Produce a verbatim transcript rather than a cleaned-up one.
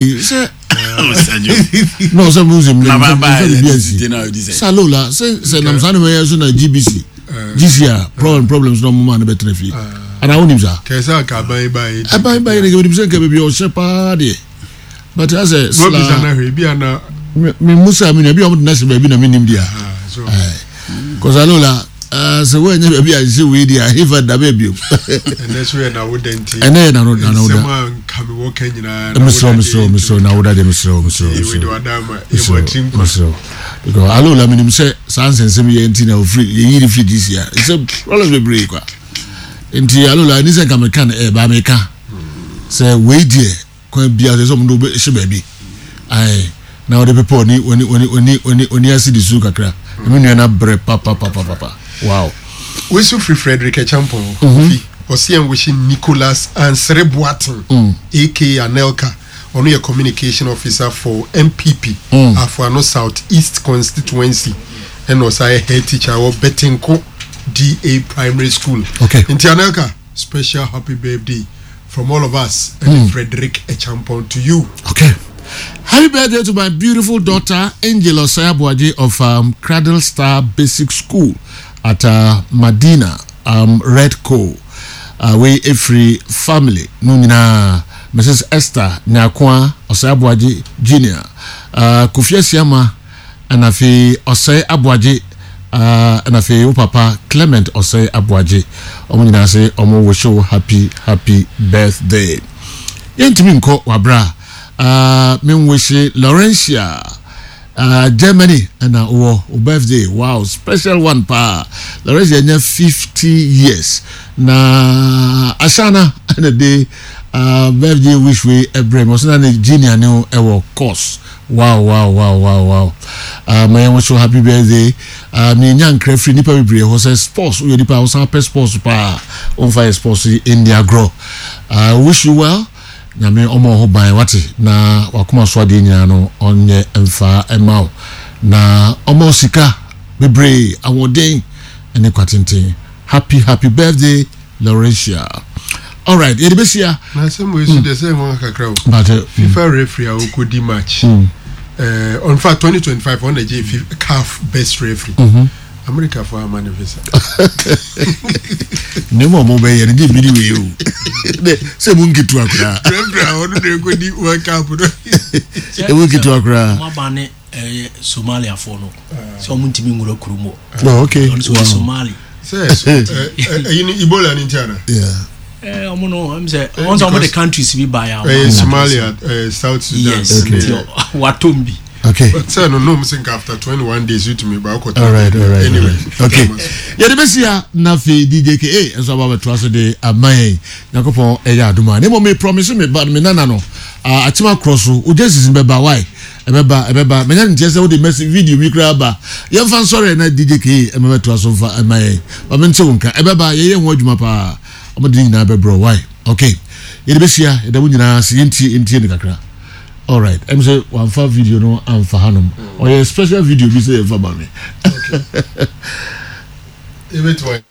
Sɛ no sɛ mo nsɛm nfa bibi ansi salola sɛ sɛ nam saa ne mɛyɛ so na G B C G C a problem problems na ɔmo maa ne bɛtena fie ana wonim saa. Kɛsɛ aka aban ba yi. Aban ba yi ne kɛ sɛ nka baabi a ɔhyɛ paa deɛ, but asɛ Wɔbisa na hwɛ ebi ana. Me musa mi nua bi a ɔmo de n'ahyɛ baabi na mi nim deɛ kɔsa lola sɛ wɔnyɛ baabi a nhyɛ wei deɛ ahefa da bɛɛ bio. Ɛnɛ so yɛ nawoda nti. Ɛnɛ yɛ nano nawoda. Nsɛm a nka mi wɔ ka nyinaa. Mesrɛ, mesrɛ, mesrɛ, nawoda deɛ, mesrɛ, mesrɛ, mesrɛ, mesrɛ, because alola menim sɛ saa nsɛnsɛm yɛ nti na ofiri yɛyi ne firi D C a sɛ problems bebree kwa nti alola ni sɛ nka meka no ɛɛ ba meka sɛ wei deɛ kwan bia sɛ sɛ ɔmo de wobɛhyɛ baabi ayi na wɔde pepa oni oni oni oni oni oni ase de su kakra na me nua na brɛ papapapapa, wow. Wesu firi Frederick Echampong Kofi ɔsi ɛn wihyi Nicholas Ansere Boateng mm. aka Anelka. Ɔno yɛ communication officer for N P P mm. Afuano South East constituency, ɛna ɔsan yɛ head teacher wɔ Betenko D A Primary School. Okay. Nti Anelka, special happy birthday from all of us and mm. Frederick Echampong to you. Okay. Happy birthday to my beautiful daughter, Angel Osayabuaji of um, Cradle Star Basic School at uh, Madina, um, Red Co. Uh, we every family, no nyinaa, Missus Esther Nyakwa Osayabuaji Junior, uh, Kofi Asiama, ɛna afei Ɔsɛe Aboagye, uh, ɛna afei wo papa Clement Ɔsɛe Aboagye, ɔmo nyinaa sɛ ɔmo wish wo happy happy birthday. Yɛntumi nkɔ wabra uh, menwihye Laurentia uh, Germany ɛna wɔ wo birthday. Wow, special one paa. Laurentia nya fifty years na Ashana ɛna de uh, birthday wish wei ɛbrɛ mi. Ɔsɛ na ne junior ne ho ɛwɔ course. wow wow wow wow wow uh, ma yɛn so happy birthday. uh, menya nkra firi nipa bebree hɔ sɛ sports, woyɛ nipa a wosan pɛ sports paa, womfa yɛ sports yi ɛnni agorɔ. uh, wish you well. Nyame ɔma ho ban wate na wakoma so adeɛ nyinaa no ɔnyɛ mfa ɛma wo na ɔma wo sika bebree, ahoɔden ne kwatenten. Happy happy birthday, Laurentia. Alright, yɛde bɛhyia. Na asɛm wei so deɛ sɛ ho kakra o. But uh, FIFA referee a wokɔdi match mm. uh, on fact twenty twenty-five ɔna gye CAF best referee mm -hmm. America fo ama ne visa. Ne mu a ɔmo bɛyɛ no gye bi ni wei o sɛ mu nketewa koraa. Referee a ɔno na ɛkɔdi World Cup no. Emu nketewa koraa. Ɔmo aba ne ɛyɛ Somaliafoɔ no sɛ ɔmo ntumi nwura kurom hɔ. Oh, okay. Ɔno sɛ ɔyɛ Somali. Sɛ ɛyi ni Ebola ni nti ana? Yeah. Ɛɛ ɔmo no ɛm sɛ ɔmo sɛ ɔmo de countries bi ba ya. Ɛyɛ Somalia, ɛɛ South Sudan. Yes, nti watom bi. Okay. Sɛ no nom sɛ nka after twenty one days wotumi ba ɔkɔ. All right, all right. Anyway. All right. Okay. Yɛde bɛsi na afei D J K nso aba bɛtoa so de ama yɛn. Nyankopɔn ɛyɛ adom a ne mmom me promise me ba me nana no akyema korɔ so ogya sisi bɛba wae, ɛbɛba, ɛbɛba. Manya nteɛ sɛ wode message video bi koraa ba. Yɛmfa nsɔre na D J K ɛma bɛtoa so mfa ɛma yɛn. Ma mente wo nka. Ɛbɛba, yɛyɛ ho adwuma paa. Ɔmo de ne nyinaa bɛbrɛ wae. Okay. Yɛde bɛhyia, yɛda mo nyinaa ase. Yɛntie yɛntie ne kakra. Alright, ɛm sɛ wamfa video no amfa hanom. Ɔyɛ special video bi sɛ yɛmfa ma me. Ebetumi.